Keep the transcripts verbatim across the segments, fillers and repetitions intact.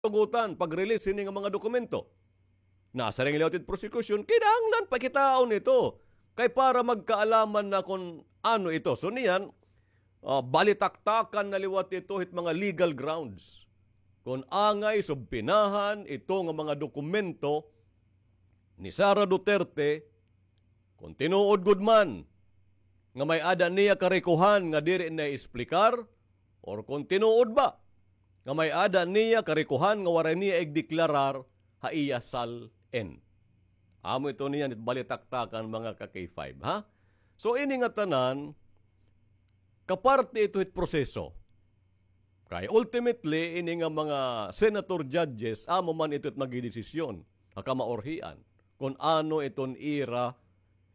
tugutan pag-release hini nga mga dokumento. Nasiring liwat it prosecution, kinahanglan pakitaon ito. Kay para magkaalaman na kon ano ito. So niyan, ah, balitaktakan na liwat ito hit mga legal grounds. Kon angay subpinahan ito nga mga dokumento ni Sara Duterte, kon tinuod gud man nga may-ada niya karikohan nga diri na isplikar, or kon tinuod ba nga may-ada niya karikohan nga waray niya igdeklarar ha iya SALN. Amo ito niyan it balitaktakan, mga ka-K five, ha? So, ini nga tanan, kaparte ito hit proseso. Kay ultimately, ini nga mga senator judges, amo man ito it magdidesisyon ha kamaorhian kon ano iton ira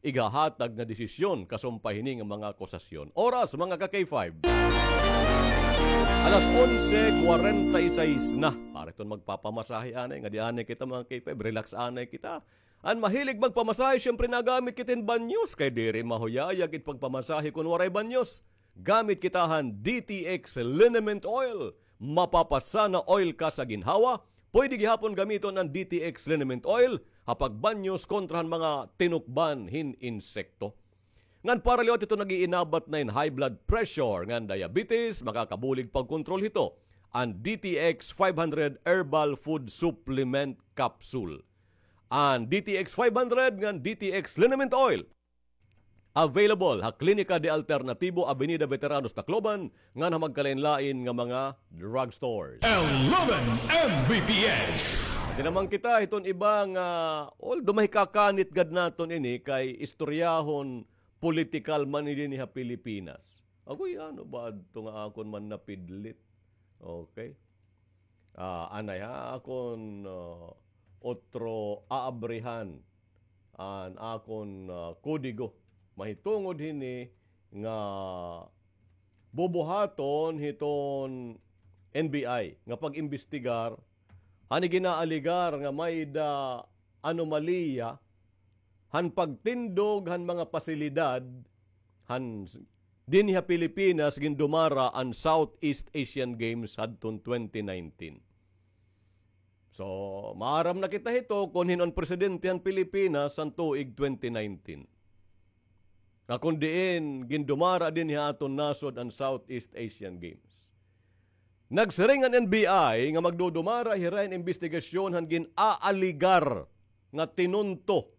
ighahatag nga desisyon kasumpay hini nga mga akusasyon. Oras, mga ka-K five. Alas onse kwarenta y seis na. Para iton magpapamasahe anay, nga di anay kita, mga K five, relax anay kita. An mahilig magpamasahe, siyempre nagamit kita hin banyos, kay diri mahuyayag it pagpamasahe kon waray banyos. Gamit kita han D T X Liniment Oil. Mapapasana oil ka sa ginhawa. Pwede gihapon gamiton an D T X Liniment Oil ha pagbanyos kontra han mga tinukban hin insekto. Ngan para liwat hito nag-iinabat na hin high blood pressure ngan diabetes, makakabulig pagkontrol hito an D T X five hundred Herbal Food Supplement Capsule. An D T X five hundred ngan D T X Liniment Oil. Available ha Klinika de Alternativo, Avenida Veteranos, Tacloban, ngan ha magkalain-lain nga mga drugstores. Eleven M B P S. Di naman kita hiton iba nga, although mahikakanit gad naton ini kay istoryahon politikal man ini ha Pilipinas. Agoy, ano ba adto nga akon man napidlit? Okay. Ah, anay ha, akon, ah, otro aabrihan an akon, ah, kodigo. Mahitungod hini nga bubuhaton hiton N B I nga pag-imbestigar han iginaaligar nga may-ada anomalya han pagtindog han mga pasilidad han dinhi ha Pilipinas gindumara an Southeast Asian Games hadton twenty nineteen. So, maaram na kita hito kon hin-o an presidente han Pilipinas han tuig twenty nineteen. Nga kon diin gindumara dinhi ha aton nasod an Southeast Asian Games. Nagsiring an N B I nga magdudumara hira hin imbestigasyon han gin-aaligar nga tinunto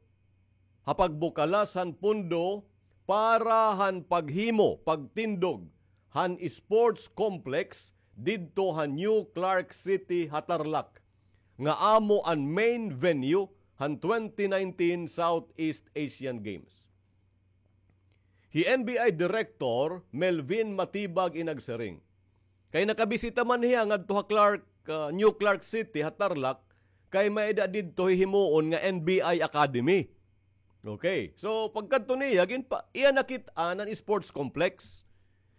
ha pagbukalas han pondo para han paghimo, pagtindog han sports complex didto ha New Clark City ha Tarlac, nga amo an main venue han twenty nineteen Southeast Asian Games. Hi N B I Director Melvin Matibag in nagsiring. Kay nakabisita man hiya ngadto ha Clark, ah, New Clark City, ha Tarlac, kay may-ada didto hihimuon nga N B I Academy. Okay. So, pagkadto niya, ginpa-, iya nakit-an an sports complex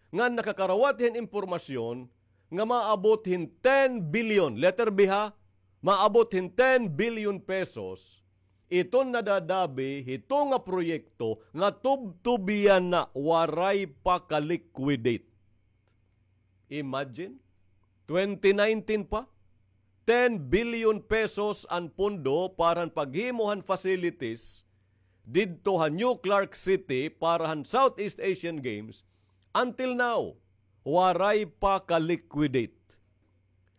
nga nakakarawat hin impormasyon nga maabot hin ten billion, letter B ha, maabot hin ten billion pesos, iton nadadabi hito nga proyekto nga tubtub yana, waray pa ka-liquidate. Imagine, twenty nineteen pa, ten billion pesos an pondo para han paghimo han facilities didto ha New Clark City para han Southeast Asian Games. Until now, waray pa ka-liquidate.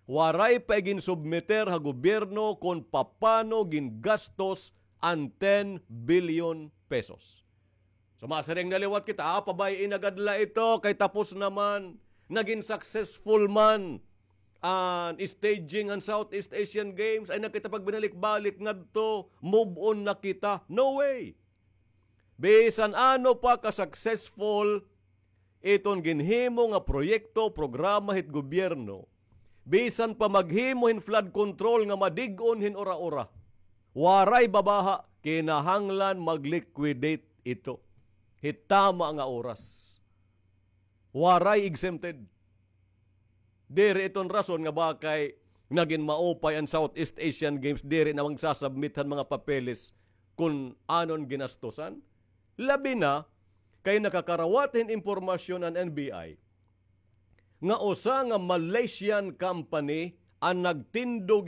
Waray pa iginsubmiter ha gobyerno kon papano gingastos an ten billion pesos. So, masiring na liwat kita, ah, pabay-i na gad la ito, kay tapos naman, nagin successful man an staging an Southeast Asian Games, ay na kita pagbinalik-balik ngadto, move on na kita. No way! Bisan ano pa ka-successful iton ginhimo nga proyekto, programa hit gobyerno, bisan pa maghimo hin flood control nga madig-on hin ura-ura, waray babaha, kinahanglan mag-liquidate ito hit tama nga oras. Waray exempted. Diri iton rason nga bakay nagin maupay an Southeast Asian Games, diri na magsasubmit han mga papeles kun anon ginastosan. Labi na kay nakakarawat hin impormasyon an N B I nga usa nga Malaysian company an nagtindog